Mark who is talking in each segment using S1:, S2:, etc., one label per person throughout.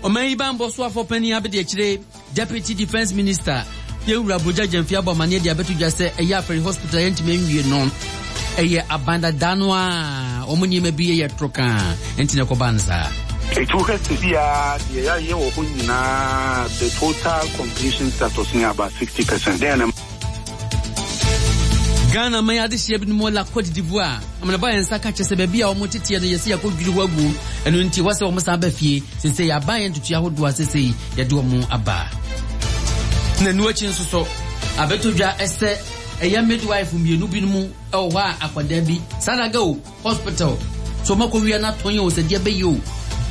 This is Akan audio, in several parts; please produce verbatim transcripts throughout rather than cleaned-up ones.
S1: Ɔman yi banbɔ soafoɔ panin abɛdi akyire, Deputy Defence Minister, Yɛwura Brogya Gyamfi abɔ amaneɛ de abɛto dwa sɛ ɛyɛ Afari Hospital a yɛntumi nwie no, ɛyɛ aban dada no a wɔn nneɛma bi yɛ toro kaa nti na ɛkɔbaa no saa.
S2: Eti wohwɛ sesiaa deɛ yɛayɛ wɔ hɔ nyinaa, the total completion status no yɛ about sixty percent. Dɛn na.
S1: Ghana man adehyeɛ binom wɔ La Cote d'Ivoire amanebɔ a yɛn nsa ka kyerɛ sɛ baabi a wɔn teteɛ no yɛsɛ yɛakɔdwiri hɔ agu, ɛno nti ɛwɔ sɛ wɔn san ba fie. Sesei aban yɛ ntotoeɛ ahodoɔ a sesei yɛde wɔn aba. Na ɛno akyi nso so abɛtɔ dwa sɛ ɛyɛ midwife mmienu binom wɔ hɔ a akwadaa bi Sanaga o hospital so wɔn akɔwia no atɔn o sɛ deɛ bɛyɛ o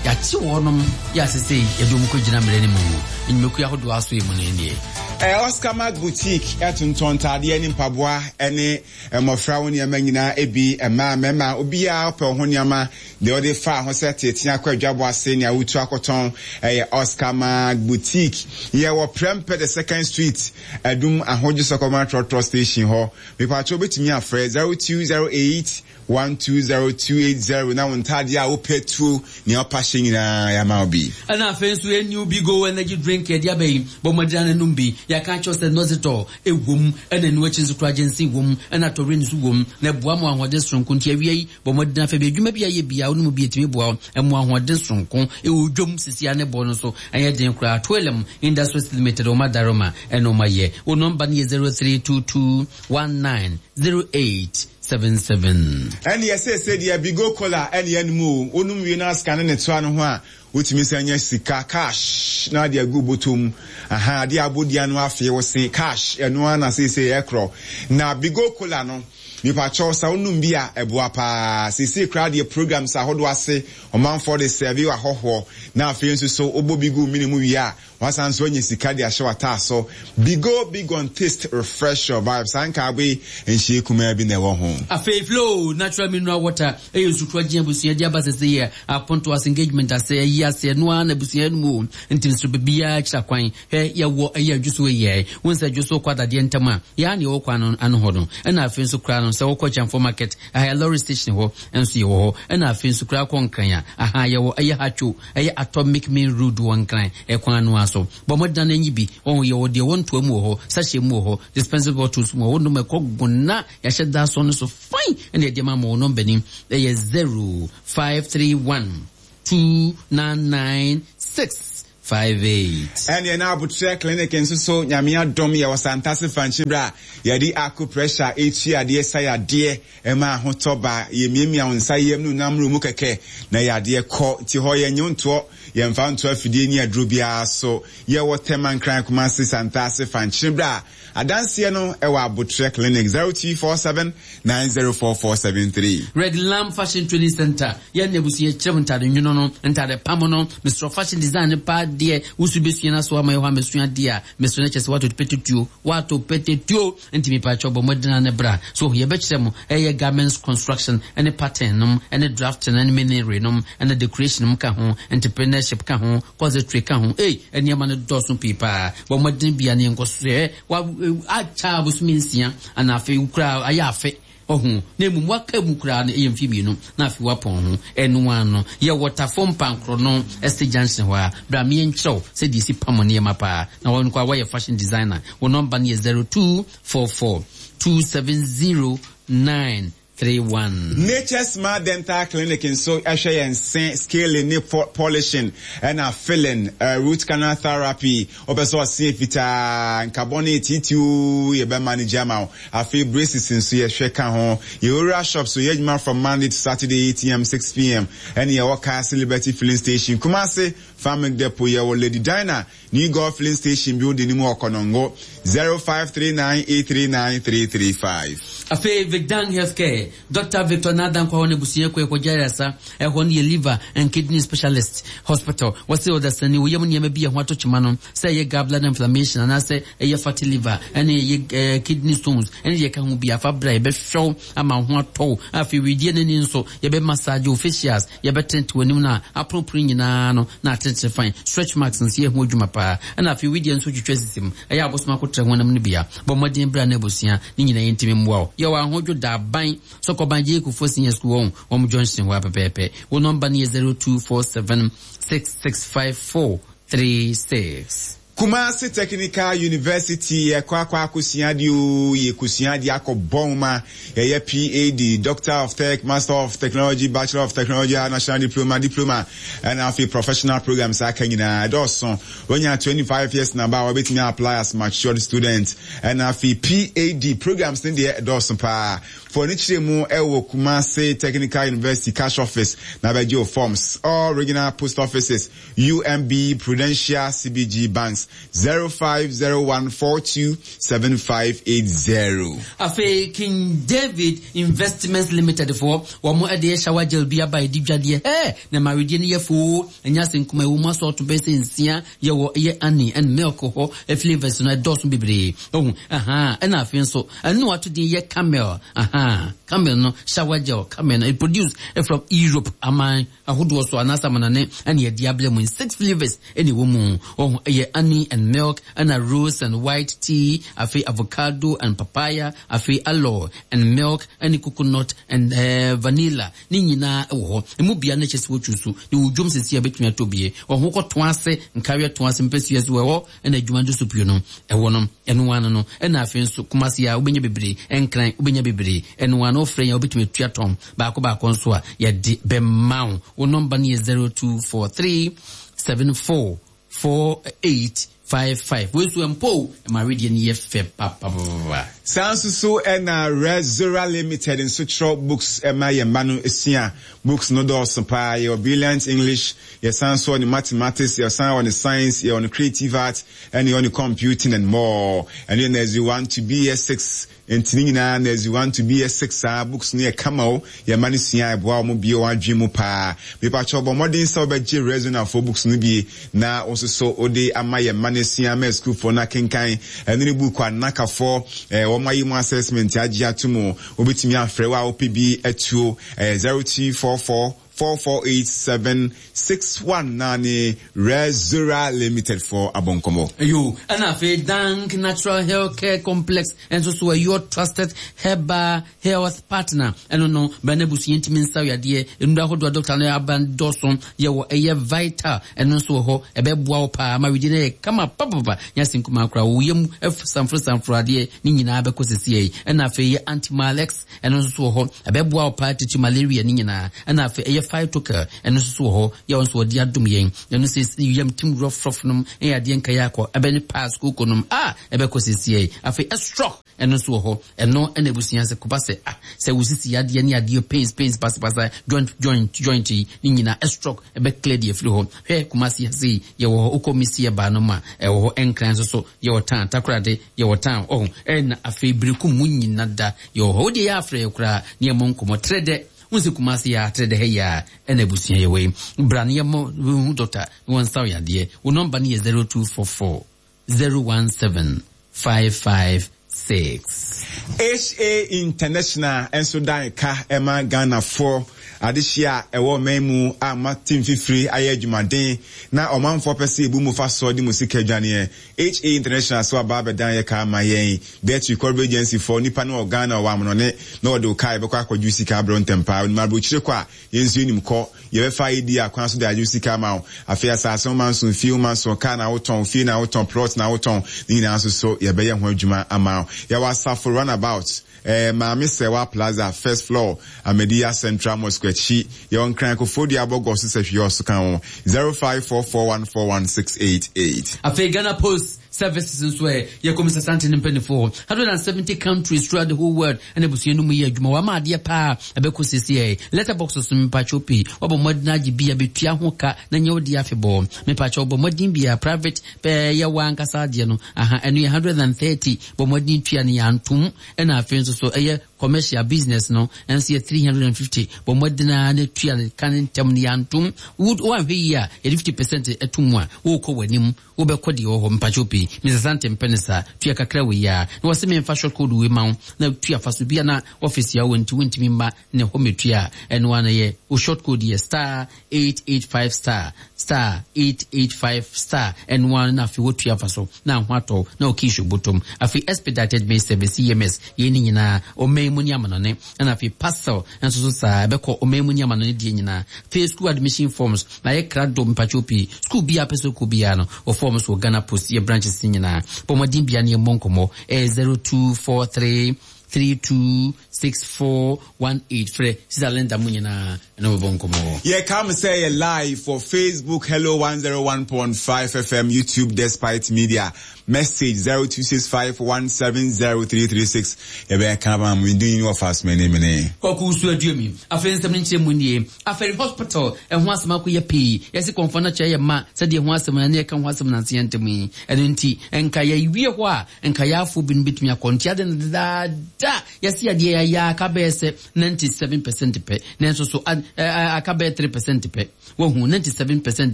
S1: yɛakye wɔnom yɛ a sesei yɛde wɔn kɔgyina mmara no mu nnwumakuo ahodoɔ asoɛ mu no nie.
S3: Oscar Mark Boutique tontɔn ntaadeɛ ne mpaboa ne mmɔfra ho nneɛma nyinaa bi, mmaa, mmarima, obiara ɔpɛ wo ho nneɛma, deɛ wode fa ho sɛ teetee akɔ adwabɔ ase, nea wotu akɔtɔn, ɛyɛ Oscar Mark Boutique. Yɛwɔ Prempeh the Second Street, Adum Ahodwo Sɔkɔma Trɔtrɔ Station hɔ. Mepatwo wobɛtumi afrɛ zero two zero eight one two zero two eight zero na wo ntaadeɛ a wopɛ tuo, nea wopa hyɛ nyinaa yɛama wo bi.
S1: Ɛna afei nso yɛn New Bigo Energy Drink yɛde aba yi, bɔ mmɔden ara na nom bi. Yɛaka akyerɛ wo sɛ Nositol wom, ɛna ɛno akyi nso koraa ginseng wom, ɛna taurine nso wom, na ɛboa ma ahoɔden soronko. Nti awia yi, bɔ mmɔden ara fa bi. Adwuma bi a yɛ biara, wonom bi a ɛtumi boa wo, ɛma ahoɔden soronko. Ɛwɔ dwom sisi ara ne bɔ no nso ɛnyɛ den koraa. Twelem Industries Limited, wɔn adaroma ɛna wɔn ayɛ. Wo nɔmba no yɛ zero three two two one nine zero eight seven seven.
S3: Ɛnneɛ seesei deɛ Bigo Cola ɛne yɛnom o, wonom wie na sika no ne toa no ho a, wotumi san nya sika, cash, na ade agu wo bɔtɔ mu. Ahaa, adeɛ a abɔ dua no afee wo se, cash, ɛno ara na seesei ɛkorɔ. Na Bigo Cola no, mepakyɛw sɛ wonom bi a, ɛboa paa. Seesei koraa deɛ programs ahodoɔ ase, ɔmanfoɔ de sɛɛve ahɔhoɔ, na afei nso so wobɔ bi gu wo mene mu wie a, Wasan nso anya sika de ahyɛ w'ataaso. Bigo big on taste refresh your vibe. Saa nkaabo yi nhyee kumaa bi na ɛwɔ ho.
S1: Afei Flo natural mineral water yɛ nsukorɔ gye abusua de aba sese yɛ aponto ase engagement ase ayi ase ɛno ara na abusua nom o nti mesrɛ baabiara kyerɛ kwan hwɛ yɛwɔ ɛyɛ adwoso yɛ wo nsɛ adwoso kɔ adadeɛ ntam a yɛ a na yɛwɔ kwan no ano hɔ no ɛna afei nso koraa no sɛ wokɔ Kyɛmfo market aha yɛ lorry station hɔ nso yɛwɔ hɔ ɛna afei nso koraa kɔ Nkran a aha yɛwɔ ɛyɛ Hatcho ɛyɛ Atomic Main Road wɔ Nkran ɛkwan no ara so. Bɔ mmɔden na nyi bi. Wahu, yɛwɔ deɛ ɛwɔ ntoa mu wɔ hɔ, sachet mu wɔ hɔ, dispensary bottles mu wɔ hɔ, wonom ɛkɔ gona, yɛahyɛ da asɔ no so fine ɛna yɛde ama mo. Wo nɔmba ni, ɛyɛ zero five three one two nine nine six five eight.
S3: Ɛneɛ na Aboterɛ Clinic nso so Nyame adom yɛwɔ Santase Fankye berɛ a yɛde acupressure ɛtua adeɛ sa yadeɛ ɛma ahotɔ ba, yɛmiamia wo nsa yam ne wo nam mu kɛkɛ na yadeɛ kɔ, nti hɔ yɛnye wo ntoɔ. Yɛmfa nto afidie ne aduro biara so. Yɛwɔ Tema, Nkran, Kumasi, Santase, Fankyene berɛ a adanseɛ no wɔ Aboterɛ Clinic, zero two four seven nine zero four four seven three.
S1: Red Lamb Fashion Training Centre, Yɛn na abusua kyerɛ mo ntade nwono no, ntade pam no, mesrɛ fashion design no paa deɛ, wo nso bɛsua na so ama yɛ hɔ a mɛsua adeɛ a, mesrɛ no kyerɛ sɛ woato pɛtɛtuo, woato pɛtɛtuo, nti mepakyɛw bɔ mmɔden ara na bra, so yɛbɛkyerɛ mo ɛyɛ garments construction ne pattern nom ne drafting ne millinery nom ne decoration nom ka ho, entrepreneurship ka ho, corsetry ka ho, ei nneɛma no dɔɔso pii paa, bɔ mmɔden bia ne yɛnkɔ so ɛ, wa akyɛ abosome nsia anaa afei koraa ayɛ afe. Wahu, na mmom waka mu koraa no yɛ mfe mmienu na afei wapɔn ho. Ɛno ara no, yɛwɔ Tafo Mpankoro no Estate Junction hɔ ara. Bra ma yɛnkyerɛ wo sɛdeɛ yɛsi pam nneɛma paa. Na wo nko ara woayɛ fashion designer. Wo nɔmba no yɛ zero two four four two seven zero nine three one.
S3: Nature Smart Dental Clinic nso hwɛ yɛn se, scaling ne polishing ɛna filling, root canal therapy, wopɛ sɛ ɔse fitaa, nkabɔ ne titiw yɛbɛ manage ama wo. Afei braces nso yɛhwɛ ka ho. Yɛwɔ Owura shop so, yɛ adwuma from Monday to Saturday eight am, six pm. Ɛne yɛwɔ Kaase Liberty Filling Station, Kumasi, Farming Depot. Yɛwɔ Lady Dinah, New Gold Filling Station building no mu wɔ Konongo, zero five three nine eight three nine three three five.
S1: Afei Vicdan Healthcare, Dɔkta Victor Naadan Kwawo n'abusua kɔ ɛkɔgye ayaresa, ɛhɔ no yɛ Liver and Kidney Specialist Hospital. Wɔse ɔdasani wo yam nneɛma bi a ɛho ato kyema no, sɛ ɛyɛ gallbladder inflammation anaasɛ ɛyɛ fatty liver ɛne ɛyɛ eh, kidney stones ɛne deɛ ɛka ho bi afa bra yɛbɛhwɛ wo ama wo ho atɔ wo. Afei wedeɛ n'ani nso yɛbɛ massage wo facials, yɛbɛtente w'anim no a aponopono nyinaa no na atentene fine. Stretch marks nso yɛ ho adwuma paa. Ɛna afei wedeɛ nso twitwa sisi mu, ɛyɛ abosom akotrɛ honam no bia. Bɔ mmɔden bra na abusua ne nyinaa yɛntumi mmoa wo. Yɛwɔ Ahodwo Daban Sɔkɔban Gye Kufo Senior School wɔn wɔn junction hɔ apɛpɛɛpɛ. Wo nɔmba no yɛ zero two four seven six six five four three six.
S3: Kumasi Technical University yɛkɔ akɔ akosua adeɛ o, yɛkosua adeɛ akɔ bɔn ma yɛyɛ P A D, Doctor of Tech, Master of Technology, Bachelor of Technology, National Diploma, Diploma, ɛna afei professional programs aka nyinaa ɛdɔɔso. Wonya twenty-five years na ba a, wɔbɛtumi apply as matured student. Ɛna afei P A D programs ne deɛ ɛdɔɔso paa. For ne kyerɛ mu ɛwɔ Kumasi Technical University cash office na bɛgye o forms, all regional post offices, U M B, Prudential, C B G banks, zero five zero one four two seven five eight zero.
S1: Afei King David Investments Limited foɔ, wɔn ɛde yɛ shower gel bi aba edi dwadeɛ ɛɛ na maridie no yɛ foo, ɛnyɛ ase nkuma. Ɛwɔ mu asɔɔto bɛyɛ sɛ nsia. Yɛwɔ ɛyɛ honey and milk hɔ, flavours no ɛdɔɔso bebree ɔhu ɛhan. Ɛna afei nso ɛno wato din yɛ camel ahan, camel no, shower gel camel no, it produce from Europe aman ahodoɔ so anaasɛ amanane, ɛna yɛde abrɛ mu. Six flavours ɛna ɛwɔ mu ɔho. Ɛyɛ honey and milk, ɛna rose and white tea, afei avocado and papaya, afei aloe and milk, ɛne coconut and uh, vanilla. Ne nyinaa ɛwɔ hɔ. Emu bia no kyɛ sɛ wɔtwu so ne wɔ dwom sisi a bɛtumi atɔ bie ɔho kɔ ase nkareɛ to ase mpɛsua so wɔ hɔ. Ɛna adwuma nso so pio no ɛwɔ no ɛno ano no. Ɛna afei nso Kumasi a wobɛnya bebree, Ɛnkran wobɛnya bebree. Ɛno ano wofrɛ yɛn, wobɛtumi atua tɔn baako baako nso a yɛde bɛma wo. Wo nɔmba no yɛ zero two four three seven four four eight five five. Wei nso mpo ɛma awedeɛ no yɛ fɛ papapapa.
S3: Saa nso so ɛna Rezora Limited nso kyerɛ books ɛma yɛn mma no esua. Books no dɔɔso paa. Yɛwɔ Brilliant English, yɛsan so wɔ ne mathematics, yɛsan wɔ ne science, yɛwɔ ne creative art, ɛne yɛwɔ ne computing and more. Ɛno yɛ nursery one to B S six. Nti ne nyinaa nursery one to B S six. Saa books no yɛ kama o. Yɛn mma no sua, ɛboa wɔn bie wɔn adwene mu paa. Mipakyɛw, bɔ mmɔden sɛ wɔbɛgye Rezonafoɔ books no bie na wɔn nso so wɔde ama yɛn mma no asua ama sukuufoɔ no akenkan. Ɛno ne book a nakafoɔ ɛɛ wɔn ayi mu assessment agye ato mu. Wobɛtumi afrɛ wo a wopɛ bi atuo, ɛɛ zero two four four four four eight seven six one na ne Rezora Limited for abɔnkɔmɔ.
S1: Yo, ɛna afei Dank Natural Health Care Complex ɛnso so your trusted herbal health partner. Ɛno no bɛn abusua ntumi nsa yadeɛ nnuro ahodoɔ a doctor no aba dɔso. Yɛwɔ ɛyɛ vital, ɛno nso wɔ hɔ, ɛbɛboa wo paa ma widi no yɛ kama papapa. Nyɛ ase nkuma koraa, wo yam sanforo sanforo adeɛ ne nyinaa bɛkɔ sisi yi. Ɛna afei yɛ Antimalex, ɛno nso so wɔ hɔ, ɛbɛboa wo paa titi malaria ne nyinaa. Ɛna afei ɛyɛ Phytocal, ɛno nso so wɔ hɔ, yɛ wɔn nso wɔde adom yɛn. Ɛno sɛ yam tim rɔfrɔf nom ɛyɛ adeɛ nkaeɛ akɔ ɛbɛne pass koko nom a ɛbɛkɔ sisi yi. Afei ɛstroke, ɛno nso wɔ hɔ. Ɛno ɛna abusua sɛ koba sɛ ah sɛ wosisi adeɛ ne adeɛ pains pains pasapasa, joint joint joint yi ne nyinaa, ɛstroke ɛbɛ clear deɛ firi hɔ. Hwɛ, Kumasi ase yi yɛwɔ hɔ. Wokɔ misi ɛbaa no mu a, ɛwɔ hɔ. Ɛnkran nso so yɛwɔ tan Takorade, yɛwɔ tan ɔho. Ɛna afei Birikum mu nyina da yɛwɔ hɔ. Wodeɛ yɛ afrɛ yɛ koraa ne yɛmmɔ nkɔmmɔ trɛ dɛ wọn sɛ Kumase yɛ atrɛ dɛ ha yi a ɛna abusua yɛ wɔ yi. Bra ne yɛmmɔ hu doctor ne wɔn nsa yadeɛ. Wo nɔmba no yɛ zero two four four zero one seven five five six.
S3: Ha International nso dan ka ɛma Ghanafoɔ adehyia a ɛwɔ ɔman mu a mate mfifiri ayɛ adwumaden na ɔmanfoɔ pɛ sɛ ebu mu fa soɔ de mu sika adwaneɛ. Ha International so aba abɛdan yɛ ka ama yɛn debt recovery agency foɔ. Nipa no wɔ Ghana, ɔwɔ amonɔne na wɔde wo kaa yɛbɛkɔ akɔgye sika abrɛ ntɛm paa. Onim aburokyire kɔ a, yɛn nso yɛnim kɔ, yɛbɛfa yi di akwan so de agye sika ama wo. Afei asase wo ma nso, fie wo ma nso, kaa na wotɔn, fie na wotɔn, plot na wotɔn, ne nyinaa nso so yɛbɛyɛ ho adwuma ama wo. Yɛwɔ Asafo Runabout, eh, Maame Sɛwa Plaza, first floor, Ahmadiyya Central Mosque akyi. Yɛwɔ Nkran Kofoɔ abɔgɔ so sɛ hwee ɔso ka ho, zero five four four one four one six eight eight.
S1: Afei Ghana Post Services nso ɛ yɛ kɔmisa sante ne mpanimfoɔ hundred and seventy countries throughout the whole world. Ɛna abusua no mu yɛ adwuma wama adeɛ paa ɛbɛkɔ sisi ɛ letter box so. Mpakyɛw pii wabɔ mmɔden agye bi a bɛtua ho ka na nyɛ wode afebɔɔ. Mepakyɛw, bɔ mmɔden bi a private pɛɛ yɛ wɔ ankasa adeɛ no aha, ɛno yɛ hundred and thirty. Bɔ mmɔden tua no yɛ antom. Ɛna afei nso so ɛyɛ commercial business no ɛnso yɛ three hundred and fifty. Bɔ mmɔden a ne tua ne ka ne ntɛm no yɛ antom. Woanhwɛ yie a, yɛde fifty percent ɛto mu a, wokɔ w'anim, wobɛkɔ deɛ wɔ hɔ. Mpakyɛw pii mesesa ntɛmpɛ ne saa tua kakra wɔ yi a na wɔsɛ memfa short code wei ma wo na tua fa so bia na office a wɔ nti wontumi mma ne hɔ mɛtua a, ɛno ano yɛ wo short code yɛ star eight eight five star star eight eight five star. Ɛno ano na afei wotua fa so na ho atɔ na ɔkii hyɛ bɔtɔm. Afei expedited mail service, E M S, yɛn ne nyinaa ɔman ɔman mu ne amanɔne. Ɛna afei parcel nso so saa ɛbɛkɔ ɔman mu ne amanɔne deɛ nyinaa. Afei school admission forms na yɛ krado mpatwo pii. School bi a pɛ sɛ kɔ biara no wɔ forms wɔ Ghana Post yɛ branches nyinaa. Bɔ mmɔden bia ne yɛmmɔ nkɔmmɔ ɛyɛ zero two four three three two six four one eight. Frɛ Sisa Linda mu nyinaa ɛna wɔbɔ nkɔmmɔ.
S3: Yɛka mo sɛ yɛ live for Facebook Hello one zero one point five F M, YouTube Despite Media. Message zero two six five one seven zero three three six. Yɛbɛyɛ ka ma mo din wɔ fast mene mene.
S1: Kɔkɔ so aduami. Afei nsɛm no nkyerɛ mu nie. Afei hospital ɛho asɛm akɔyɛ pii. Yɛsi kɔnfɔ no kyerɛ yɛ ma sɛdeɛ ho asɛm na ne yɛka ho asɛm nanse yɛn ntɛm yi. Ɛno nti nka yɛwie hɔ a nka yɛafo binom bɛtumi akɔ. Nti ade no dedaada yɛsi adeɛ yɛayɛ aka bɛyɛ sɛ ninety seven percent pɛ. Nanso so aka bɛyɛ three percent pɛ. Wahu ninety seven percent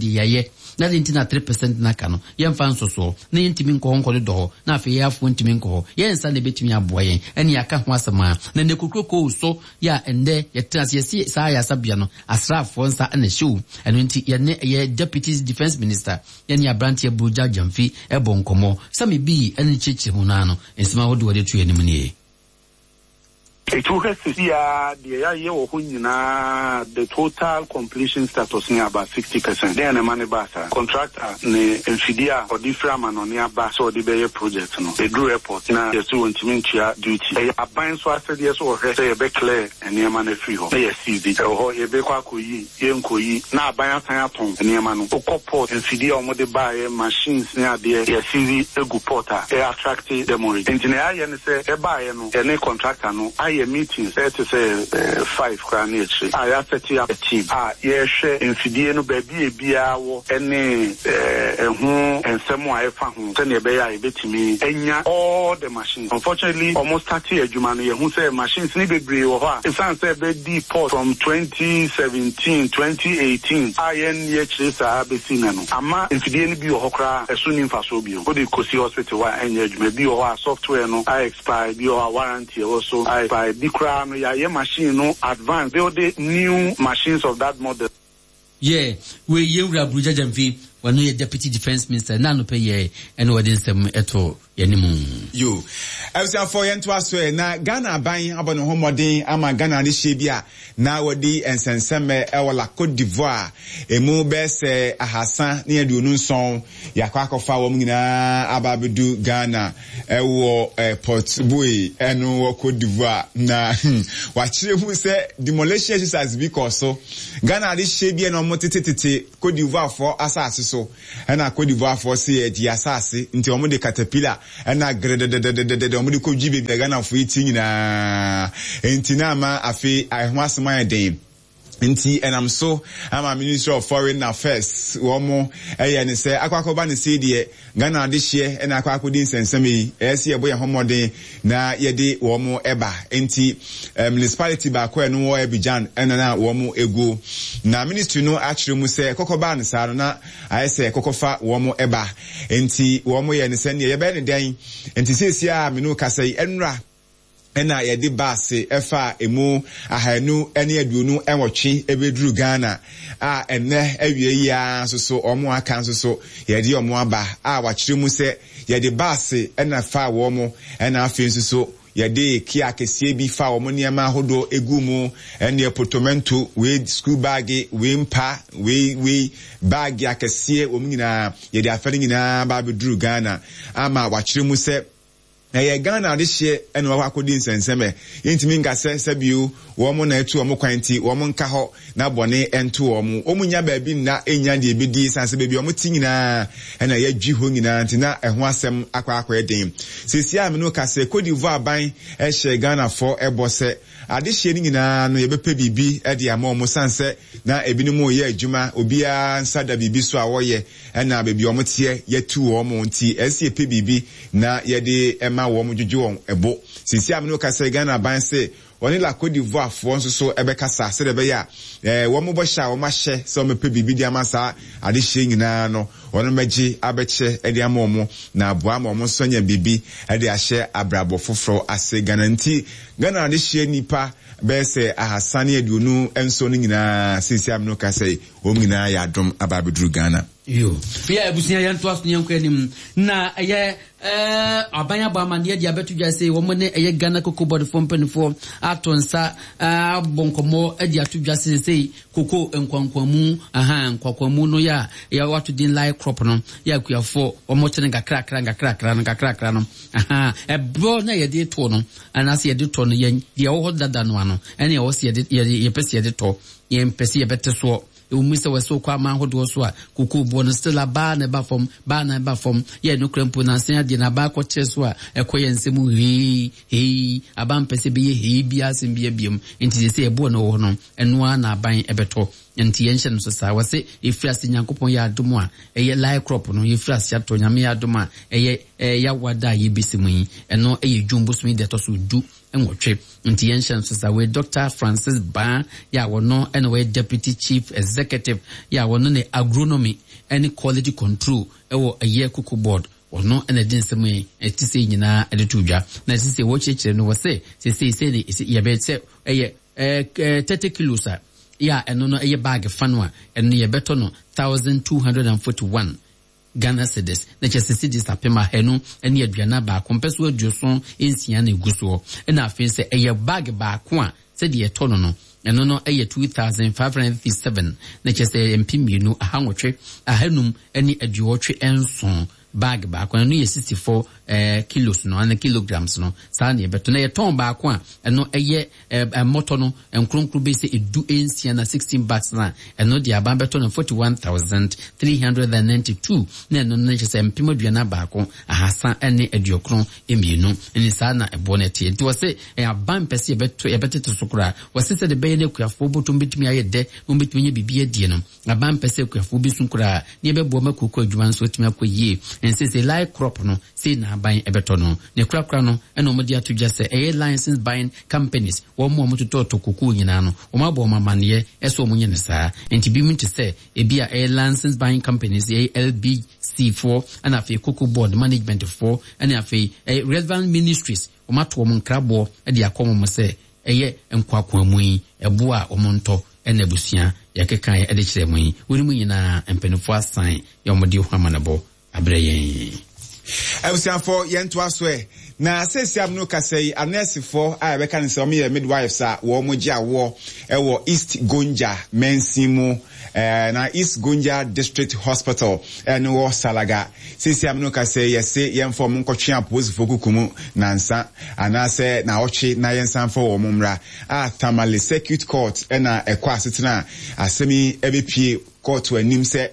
S1: deɛ yɛayɛ. Na de nti na three percent n'aka no yɛmfa nsosoɔ na yɛntumi nkɔ hɔ nkɔdodɔ hɔ na afei yɛafoɔ ntumi nkɔ hɔ. Yɛn nsa na ɛbɛtumi aboa yɛn ɛne yɛaka ho asɛm a na ne kokuroko so yɛ a ɛndɛ yɛtena ase yɛsi saa ayasabea no asraafoɔ nsa ɛna ɛhyɛ o. Ɛno nti yɛne ɛyɛ Deputy Defence Minister, yɛne aberanteɛ Burugya Gyamfi ɛbɔ nkɔmmɔ sɛme bii ɛne kyerɛkyerɛ mu naa no nsɛm ahodoɔ de to anim nie.
S2: Ɛtu hwɛ sisi a deɛ yɛayɛ wɔ hɔ nyinaa, the total completion status ne about sixty percent. Dɛn na ɛma ne baa saa? Contractor ne mfidie a ɔde firi amanɔne aba sɛ ɔde bɛyɛ project no, ɛduru airport na yɛsɛ wɔntumi ntua duty. Ɛyɛ aban so asɛdeɛ so wɔhwɛ sɛ yɛbɛclear nneɛma no afiri hɔ na yɛseize ɛwɔ hɔ. Yɛbɛkɔ akɔyi, yɛnkɔyi na aban asan atɔn nneɛma no. Wokɔ port, mfidie a wɔde baeɛ, machines ne adeɛ, yɛseize egu port a ɛyɛ attract demurrage. Nti na yɛayɛ ne sɛ ɛbaeɛ no, yɛne contractor no ayɛ meetings ɛte sɛ five koraa ne akyire a yɛaset up a team a yɛrehwɛ mfidie no baabi a ebiara wɔ ɛne ɛho nsɛm a ɛfa ho sɛnea ɛbɛyɛ a yɛbɛtumi anya all the machines. Unfortunately, ɔmo start adwuma no, yɛhu sɛ machines ne bebree wɔ hɔ a ɛsiane sɛ ɛbɛdi port from twenty seventeen, twenty eighteen a yɛn yɛkyerɛ saa bɛsi na no ama mfidie no bi wɔ hɔ koraa ɛso ni mfasoɔ bio. Wode kɔsi hospital hɔ a ɛnyɛ adwuma. Bi wɔ hɔ a software no a expire, bi wɔ hɔ a warranty ɛwɔ so a expire, bi koraa no yɛayɛ machine no advance, build new machines of that model.
S1: Yeah, wei yɛwura Burugya Gyamfi, wɔno yɛ Deputy Defence Minister na anɔpɛ yɛ ɛne wɔde nsɛm ɛto yɛne
S3: Yo, abusuafoɔ, yɛntoa so ɛ. Na Ghana aban abɔ ne ho mmɔden ama Ghana adehyɛ bi a na wɔde nsɛnsɛmɛ ɛwɔ La Cote d'Ivoire emu bɛyɛ sɛ ahasa ne aduonu nson yɛakɔ akɔfa wɔn nyinaa aba abɛdu Ghana ɛwɔ ɛ Port Bouet ɛno wɔ Cote d'Ivoire. Na wakyerɛ mu sɛ demolition exercise bi kɔ so. Ghana adehyɛ bi a na wɔn tetetete Cote d'Ivoire foɔ asase so, ɛna Cote d'Ivoire foɔ se yɛgye asase nti wɔn de caterpillar ɛna grededededede wɔn de kɔ dwi beebi a Ghanafoɔ yi ti nyinaa. Nti na ama afei ɛho asɛm ayɛ den. Nti ɛnam so ama Ministry of Foreign Affairs wɔn ɛyɛ ne sɛ akɔ akɔba ne se deɛ Ghana adehyeɛ ɛna akɔ akɔdi nsɛnsɛm yi, ɛyɛ sɛ yɛbɔ yɛn ho mmɔden na yɛde wɔn ɛba. Nti eh, municipality baako a ɛno wɔ Abidjan ɛna na wɔn egu na ministry no akyerɛ mu sɛ kɔkɔbaa ne saa no na ayɛ sɛ kɔkɔfa wɔn ɛba. Nti wɔn yɛ ne sɛ neɛ yɛbɛyɛ ne dɛn. Nti seesie a mene kasa yi, ɛnura ɛna yɛde baase ɛfa emu ahanu ne aduonu nwɔtwe ɛbɛduru Ghana a ɛnɛ awie yi ara nso so wɔn aka nso so yɛde wɔn aba a wakyerɛ mu sɛ yɛde baase ɛna fa wɔn, ɛna afei nso so yɛde kia kɛseɛ bi fa wɔn nneɛma ahodoɔ egu mu, ɛne portmanteau wei, school bag wei, mpa wei, wei bag akɛseɛ, wɔn nyinaa yɛde afa no nyinaa ba abɛduru Ghana ama wakyerɛ mu sɛ ɛyɛ Ghana adehyeɛ ɛna wɔakɔ akɔdi nsɛnsɛmɛ. Yɛntumi nka sɛ sɛbio wɔn na ɛtu wɔn kwan nti wɔn nka hɔ na bɔne ɛnto wɔn. Wɔn nya baabi nna nya deɛ ebedi san sɛ baabi a wɔn ti nyinaa ɛna yɛdwi hɔ nyinaa. Nti na ɛho asɛm akɔ akɔyɛ den. Sisi a mene ka sɛ Cote d'Ivoire aban ɛhyɛ Ghanafoɔ ɛbɔ sɛ adehyeɛ no nyinaa no yɛbɛpɛ biribi ɛde ama wɔn san sɛ na ebinom yɛ adwuma, obiara nsa da biribi so a wɔyɛ, ɛna baabi a wɔn teɛ yɛtu wɔn. Nti ɛsi yɛpɛ biribi na yɛde ɛma wɔn dwodwo wɔn ɛbo. Sisi a mene ka sɛ Ghana aban sɛ wɔne La Cote d'Ivoire foɔ nso so ɛbɛkasa sɛdeɛ ɛbɛyɛ a ɛɛ wɔn bɔhyɛ a wɔn ahyɛ sɛ wɔn bɛpɛ biribi de ama saa adehyeɛ nyinaa no, wɔn bɛgye abɛkyɛ ɛde ama wɔn na aboa ama wɔn nso anya biribi ɛde ahyɛ abrabɔ foforɔ ase Ghana. Nti Ghana adehyeɛ nipa bɛyɛ sɛ ahasa ne aduonu nson no nyinaa, sisi a mene ka sɛ wɔn nyinaa yɛ adom aba abɛduru Ghana.
S1: Yo ya abusua yɛn to aso yɛn anim na ɛyɛ eh aban aba amane de abeto dwa sɛ wɔn ne ɛyɛ Ghana Cocoa Board fo mpanimfoɔ ato nsa abɔ nkɔmmɔ de ato dwa sɛ sɛ koko nkwankwamu aha nkwankwamu no ya ya wato din live crop no ya akuafo wɔn kyene nkakrakra nkakrakra nkakrakra no aha ɛbɔ na yɛde to no anaasɛ yɛde tɔ no yɛn deɛ ɛwɔ hɔ dada no ano ɛne ɛwɔ sɛ yɛde yɛpɛ sɛ yɛde tɔ yɛn pɛ sɛ yɛbɛte soɔ ewumi sɛ wɔsɛ okɔ ama ahodoɔ so a koko boɔ no still abaa na ɛba fam baa na ɛba fam yɛ no kura mpo na asen adeɛ na abaa kɔkyerɛ so a ɛkɔ yɛn nsɛm hei hei aba mpɛ sɛ bɛyɛ hei bi asɛm bi abiam nti sɛ ɛboɔ no wɔ hɔ no ɛnoa na aban ɛbɛtɔ nti yɛn hyɛ no so saa wɔsɛ efiri ase Nyankopɔn yɛ adom a ɛyɛ live crop no yɛfiri ase atɔ Nyame yɛ adom a ɛyɛ yɛawada a yɛbɛsi mu yi ɛno ɛyɛ dwom bosom yi deɛ ɛtɔ so du nwɔtwe nti yɛn hyɛ no so saa wei Doctor Francis Baa yɛ a wɔno ɛna wɔyɛ Deputy Chief Executive yɛ a wɔno ne agronomy ɛne quality control ɛwɔ ɛyɛ Cocoa Board ɔno ɛna ɛde nsɛm yi ɛte sɛ nyinaa ɛde to dwa na ɛte sɛ wɔkyerɛkyerɛ no wɔ sɛ sɛsɛ sɛ ne yɛbɛ sɛ ɛyɛ ɛɛ thirty kilos a yɛ a ɛno no ɛyɛ bag fa no a ɛno yɛbɛtɔ no thousand two hundred and forty one Ghana cedis na kyerɛ sɛ cedis apem ahanu ne aduana baako mpɛ so aduoson nsia na egu soɔ ɛna afei sɛ ɛyɛ bag baako a sɛdeɛ ɛtɔ no no ɛno no ɛyɛ two thousand five hundred fifty seven na kyerɛ sɛ mpem mmienu ahanwɔtwe ahanum ne aduɔtwe nson bag baako ɛno yɛ sixty four ɛɛ kilos no ana kilograms no saa na yɛbɛtɔ na yɛtɔn baako a ɛno ɛyɛ ɛɛ mmɔtɔ no nkronkron bɛ sɛ edu nsia na sixteen bags na ɛno deɛ aban bɛtɔ no forty one thousand three hundred and ninety two na ɛno no kyerɛ sɛ mpem aduana baako ahasa ɛne aduokron mmienu ɛne saa na ɛboɔ no ɛteɛ nti wɔsɛ ɛyɛ aban pɛ sɛ yɛbɛtɔ yɛbɛtete so koraa wɔsɛ sɛ de bɛyɛ no akuafoɔ bɔtɔm bɛtumi ayɛ dɛ na wɔbɛtumi anya biribi adie no aban pɛ sɛ akuafoɔ bi so koraa ne yɛbɛboa ma kuoko adwuma nso atumi akɔ yie ɛnsɛ sɛ live crop no sei na aban ɛbɛtɔ no ne korakora no ɛna wɔn de ato dwa sɛ ɛyɛ license buying companies wɔn mu a wɔtotɔɔtɔ kokoo nyinaa no wɔn abɔ wɔn amaneɛ ɛsɛ wɔn nyɛ ne saa nti bi mu te sɛ ebi a ɛyɛ license buying companies ɛyɛ L B C foɔ ɛna afei Cocoa Board management foɔ ɛna afei ɛyɛ relevant ministries wɔn ato wɔn nkraboɔ ɛde akɔ wɔn sɛ ɛyɛ nkwakoamu yi ɛbo a wɔn ntɔ ɛna abusua yɛkeka yɛ ɛde kyerɛ mu yi wɔn mu nyinaa mpanimfoɔ asan yɛ wɔn de ho amanebɔ abrɛ yɛn.
S3: Abusuafoɔ, yɛntoa so ɛ na seesia no kasa yi anɛɛsefoɔ a yɛbɛka no sɛ wɔyɛ midwives a wɔn gye awoɔ ɛwɔ East Gonja mansin mu ɛɛ na East Gonja District Hospital ɛno wɔ Salaga. Seesia no kasa yi yɛse yɛmfa wɔn nkɔtwe apolisifoɔ kuku mu nansa anaasɛ naawɔtwe na yɛnsan fa wɔn mmra a Tamale Circuit Court ɛna ɛkɔ asetena a asɛm yi ɛbɛpie kɔɔto anim sɛ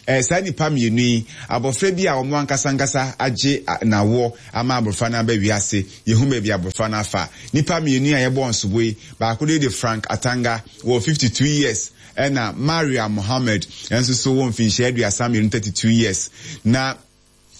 S3: ɛɛ saa nipa mmienu yi abɔfra bi a wɔn ankasa ankasa agye n'awoɔ ama abɔfra no aba wiase yehu baabi abɔfra no afa. Nipa mmienu a yɛbɔ nsobo yi, baako de de Frank Atanga wɔ fifty two years ɛna Maria Mohammed nso so wɔ mfinhyia aduasa mmienu, thirty two years, na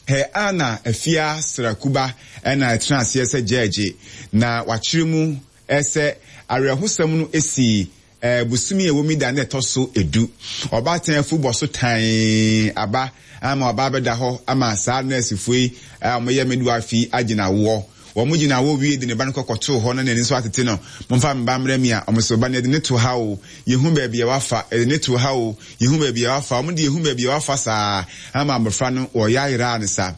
S3: Her Honour Afia Srakuba ɛna ɛtena aseɛ sɛ gyɛɛgye na wakyerɛ mu ɛsɛ awerɛhosɛm no esi ɛɛ bosomi a ɛwɔ mi da na ɛtɔ so edu. Ɔbaatan afu bɔ so tan aba ama ɔbaa bɛda hɔ ama saa nɛɛsefoɔ yi a wɔyɛ midwife yi agyina woɔ. Wɔn gyina hɔ wie de ne ba no kɔkɔtoo hɔ na n'ani nso atete no momfa me ba mmerɛ mi a wɔn so ba no yɛde ne to ha o, yehu baabi a wafa, yɛde ne to ha o, yehu baabi a wafa. Wɔn de yehu baabi a wafa saa ama abɔfra no wɔyɛ ayera ne sa.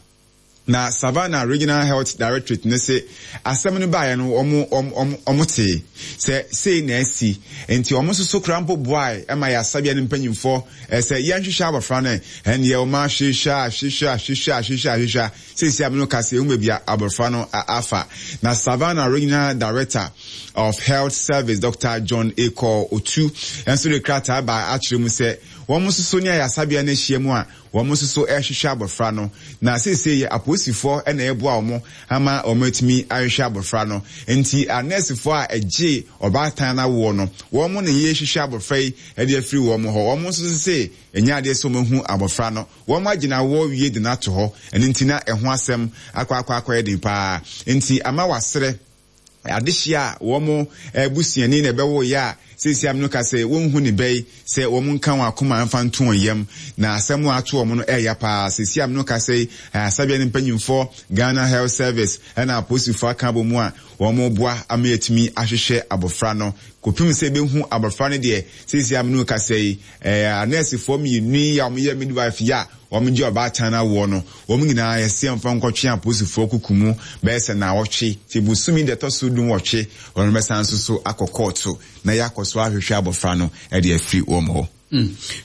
S3: Na Savannah Regional Health Directorate ne se asɛm no baeɛ no wɔn wɔn wɔn te sɛ sei na asi nti wɔn nso so kora mpo boae ɛma yɛ asabea no mpanyinfoɔ ɛsɛ yɛnhwehwɛ abɔfra no. Ɛnneɛ wɔn ahwehwɛ ahwehwɛ ahwehwɛ ahwehwɛ ahwehwɛ seesi a no kasa ehu baabi a abɔfra no afa. Na Savannah Regional Director of Health Service, Doctor John Akɔ Otu, nso de krataa ba akyerɛ mu sɛ wɔn nso so ne ayasabea no ahyia mu a wɔn nso so rehwehwɛ abɔfra no na seesei yɛ apolisifoɔ na ɛreboa wɔn ama wɔn atumi ahwehwɛ abɔfra no. Nti anɛɛsefoɔ a ɛgye ɔbaatan no awoɔ no wɔn na yɛrehwehwɛ abɔfra yi de afiri wɔn hɔ. Wɔn nso sɛ ɛnyɛ adeɛ sɛ wɔn ahu abɔfra no, wɔn agyina awoɔ wie de no ato hɔ. Ɛno nti na ɛho asɛm akɔ akɔ akɔyɛ den paa nti ama wasrɛ adehyia a wɔn abusuani na ɛbɛwɔ yɛ a Seesei am no ka sɛ wɔnhu ne bɛyi sɛ wɔn nka wɔn akoma mfa nto wɔn yam na asɛm a ato wɔn no ɛyɛ paa. Seesei am no ka sɛ asabea ne mpanyinfoɔ, Ghana Health Service ɛna apolisifoɔ aka abɔ mu a wɔn boa ama yɛtumi ahwehwɛ abɔfra no kɔpem sɛ ebehu abɔfra no deɛ. Seesei am no ka sɛ ɛɛ anɛɛsefoɔ mmienu yi a wɔyɛ midwife yi a wɔn gye ɔbaatan awoɔ no, wɔn nyinaa yɛsi mfa nkɔtwe apolisifoɔ kuku mu bɛyɛ sɛ naawɔtwe te busumi deɛ ɛtɔ so dum wɔtwe, wɔn bɛsan nso so akɔ kɔɔto na yɛakɔ so ahwehwɛ abɔfra no ɛde afiri wɔn hɔ.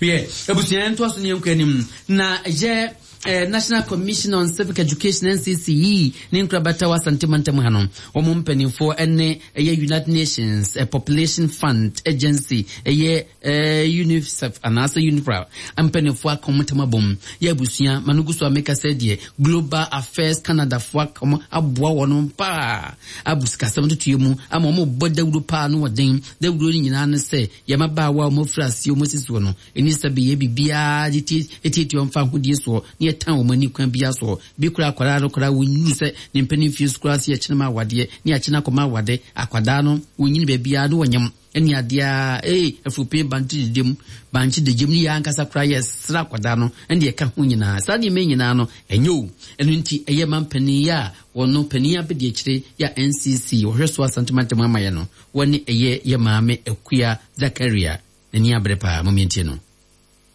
S1: Wiɛ, abusua, ntoa so ne yɛnkɔ anim na yɛ eh, National Commission on Civic Education, N C C E, ne nkorabata wɔ Asante mantam ha no, wɔn mpanimfoɔ ne ɛyɛ United Nations eh, Population Fund Agency, ɛyɛ eh, UNICEF anaasɛ UNFPA mpanimfoɔ aka wɔn ntam abom. Yɛ abusua ma no gu so a meka sɛ deɛ Global Affairs Canada foɔ aka wɔn aboa wɔn paa abu sikasɛm totoɛ mu ama wɔn bɔ dawuro paa no wɔden dawuro no nyinaa ne sɛ yɛmabaawa a wɔn afiri aseɛ wɔn asisi soɔ no ɛni sɛ bɛyɛ biribiara de tietie wɔn fa ahodie soɔ ne yɛtan wɔn ani kwan biara soɔ bi kora akwadaa no koraa wɔnyini sɛ ne mpanin fie so koraa sɛ yɛkyene ma awadeɛ ne yɛakyene akɔma awade. Akwadaa no wɔnyini baabiara ne wɔnyam ɛne adeɛ a ee afupin bankye dedem bankye degyem ne yɛ ankasa koraa yɛsra akwadaa no ɛne yɛka ho nyinaa. Saa nneɛma nyinaa no ɛnyɛ o. Ɛno nti ɛyɛ ma mpanin yɛ a wɔno panin abɛdi akyire yɛ a N C C wɔhwɛ so Asantemantam ama yɛ no, wɔne ɛyɛ yɛ Maame Akua Zakaria n'ani abere paa. Momientie no.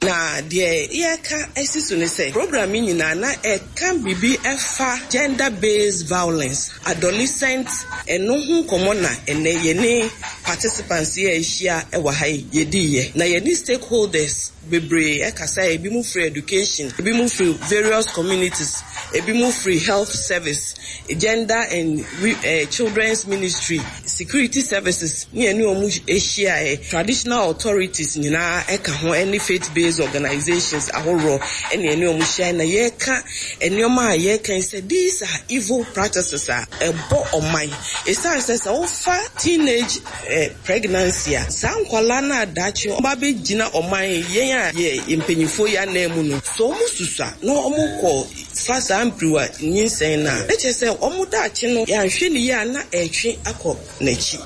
S4: Na deɛ yɛka asi so ne sɛ program yi nyinaa na ɛka biribi ɛfa gender based violence, adolescent, ɛno ho nkɔmmɔ. Na ɛnɛ yɛne participants yi a ahyia ɛwɔ ha yi yɛdiiɛ na yɛne stakeholders bebree ɛkasa. Ebi mu firi education, ebi mu firi various communities, ebi mu firi health service, gender and uh, children's ministry, security services ne ɛne wɔn ahyia, traditional authorities nyinaa ɛka ho, ɛne faith based organizations ahoroɔ ɛne ɛne wɔn ahyia. Na yɛreka nneɛma a yɛreka sɛ these are evil practices a ɛbɔ ɔman, esan sɛ sɛ wofa teenage eh, pregnancy a, saa nkwalaa no adakye ɔba bɛgyina ɔman yɛn a yɛ mpanyinfoɔ yi anan mu no so, wɔn susua na wɔn kɔ fa saa mpiriwa nyinsɛn no a, ɛkyɛ sɛ wɔn daakye no yɛanhwɛ ne yie a na ɛretwe akɔ n'akyi.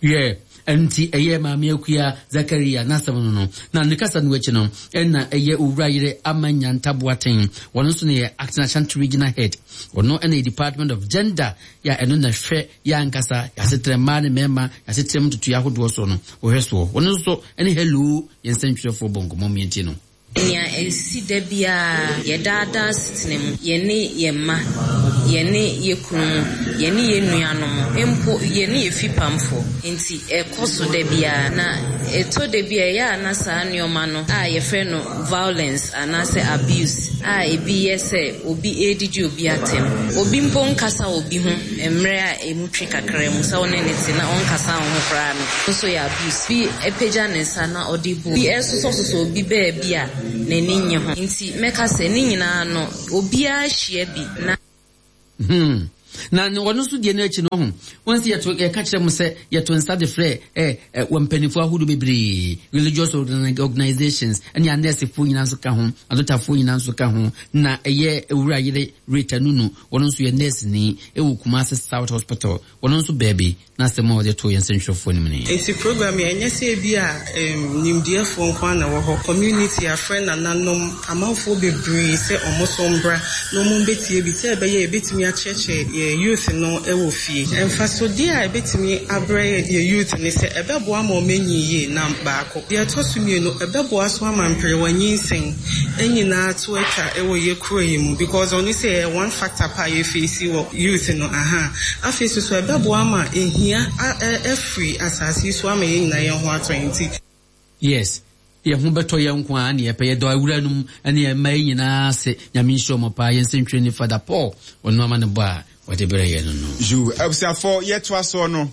S1: Yɛ nti ɛyɛ Maame Akua Zakaria n'asɛm no no na ne kasa no akyi no, ɛna ɛyɛ Owura Yere Ama Nyanta Boaten, wɔn nso no yɛ Acting Ashanti Regional Head, ɔno ɛna yɛ Department of Gender yɛ a ɛno na hwɛ yɛ ankasa yɛasetrɛ mmaa ne mmarima yɛasetrɛ mu ntotoeɛ ahodoɔ so no wɔhwɛ soɔ. Wɔn nso ɛne Hello yɛn nsɛntwerɛfoɔ bɔ nkɔmmɔ mmiɛnti no.
S5: Nea ɛsi da biara yɛdaadaa setena mu, yɛne yɛn mma, yɛne yɛ kunu mu, yɛne yɛn nuanom, mpo yɛne yɛ fipamfoɔ, nti ɛkɔ so da biara. Na ɛtɔ da bi a ɛyɛ a na saa nneɛma no a yɛfrɛ no violence anaasɛ abuse a ebi yɛ sɛ obi ɛredidi obi atɛm, obi mpo nkasa obi ho mmerɛ a emu twe kakra mu sɛ wo ne ne te na ɔnkasa wo ho koraa no nso yɛ abuse. Bi apagya ne nsa na ɔde bu bi, ɛsosɔsosɔ obi baabi a n'ani nye ho. Nti mɛka sɛ ne nyinaa no obiara hyia bi na
S1: Hmm. na ɔno nso deɛ no akyi no ho wɔn sɛ yɛto yɛka kyerɛ mo sɛ yɛto nsa de frɛ ɛ ɛ wɔ mpanimfoɔ ahodoɔ bebree, religious organizations ɛne anɛɛsefoɔ nyinaa nso ka ho, adotafoɔ nyinaa nso ka ho. Na ɛyɛ Ewura Yere Rita Nunu, wɔn nso yɛ nurse ni ɛwɔ Kumasi South Hospital, wɔn nso baabi na asɛm a wɔde to yɛn nsɛntwerɛfoɔ no mu ni.
S6: Nti program yɛ ɛnyɛ sɛ ebi a um, nimdeɛfoɔ nko ara na ɛwɔ hɔ. Community afrɛ nananom, amanfoɔ bebree sɛ ɔmo so mbra na ɔmo mbɛtie bi sɛ ɛbɛyɛ ebɛtumi akyerɛkyerɛ yɛ youth no ɛwɔ fie. Mfasodeɛ a ɛbɛtumi abrɛ yɛ youth ne sɛ ɛbɛboa ma ɔmo anyi yie na baako. Deɛ ɛtɔ so mmienu, ɛbɛboa so ama mperewa nyinsɛn nyinaa to atwa ɛwɔ yɛ kuro yi mu, because ɔno sɛ ɛyɛ one factor pa a yɛfeesi wɔ youth no aha. Afei so so ɛbɛboa ama ehia afiri asase yi so ama yɛn nyinaa yɛn ho atɔ yɛn ti.
S1: Yes, yɛn ho bɛtɔ yɛn nko a ne yɛpɛ. Yɛdɔ awura nom ne yɛn yi nyinaa ase. Nyame nhyira ɔmo paa. Yɛn nsɛntwerɛ ni Father Paul, ɔno ama ne bɔ a wɔde brɛ yɛn no no
S3: Yu abusuafo, yɛtoa soɔ no,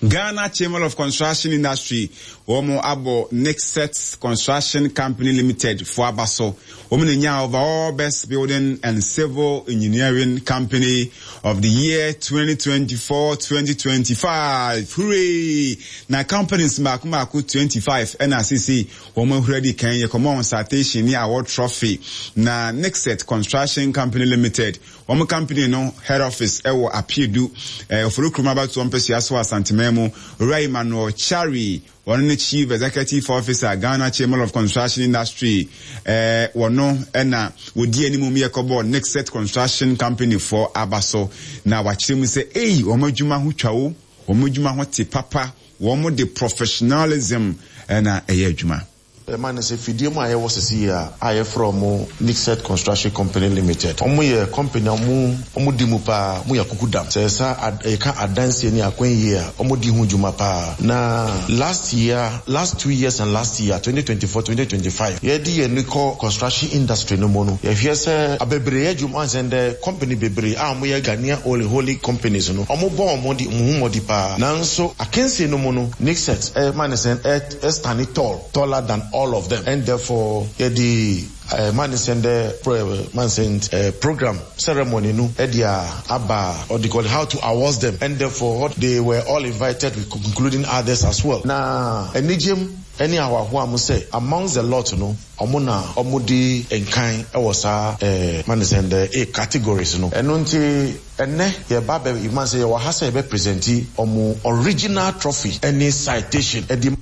S3: Ghana Chamber of Construction Industry wɔn abɔ Nixet Construction Company Limited fo aba so. Wɔn na nya overall Best Building and Civil Engineering Company of the Year twenty twenty-four twenty twenty-five. Hooray! Na companies mmaako mmaako twenty-five ɛna asisi wɔn ahura di kan yɛ kɔmɔ citation ne award trophy. Na Nixet Construction Company Limited, wɔn company no head office ɛwɔ Apiedu ɛɛ Oforikrom abatoɔ mpɛsua so Asanteman. Asanteman mu, Owura Emmanuel Chari, wɔno ne Chief Executive Officer, Ghana Chamber of Construction Industry, eh, wɔno ɛna wɔdi anim mu yɛkɔbɔ Nixet Construction Company foɔ aba so, na wakyerɛ mu sɛ ei, wɔn adwuma ho twa wo, wɔn adwuma ho te papa, wɔn de professionalism ɛna ɛyɛ adwuma.
S7: Ɛma ne sɛ fidie mu a yɛwɔ sisi yi a a yɛfrɛ ɔmo Nixet Construction Company Limited. Ɔmo yɛ company a ɔmo ɔmo di mu paa, ɔmo yɛ kuku dam. Sɛ yɛsa ad, yɛka adansie ne akwan yie a, ɔmo di ho dwuma paa. Na last year, last two years and last year, twenty twenty-four, twenty twenty-five, yɛde yɛn ni kɔ construction industry no mu no, yɛhwɛ sɛ abebree yɛ adwuma ansɛn dɛ company bebree a ɔmo yɛ Ghanaian only holy companies no, ɔmo bɔ ɔmo di ɔmo ho mmɔdi paa. Nanso akansie no mu no, Nixet ɛma ne sɛ ɛ ɛ tall, taller than all of them, and therefore yɛde uh, man sɛ dɛ man sɛ uh, program ceremony no ɛde a aba or they call it how to award them, and therefore they were all invited, including others as well. Na anigyem ɛne ahoahoa mo sɛ amongst the lot no, ɔmo na ɔmo di nkan ɛwɔ saa ɛɛ man sɛ dɛ eh categories no. Ɛno nti ɛnɛ yɛba bɛ man sɛ yɛwɔ ha sɛ yɛbɛ present ɔmo original trophy ɛne citation ɛde.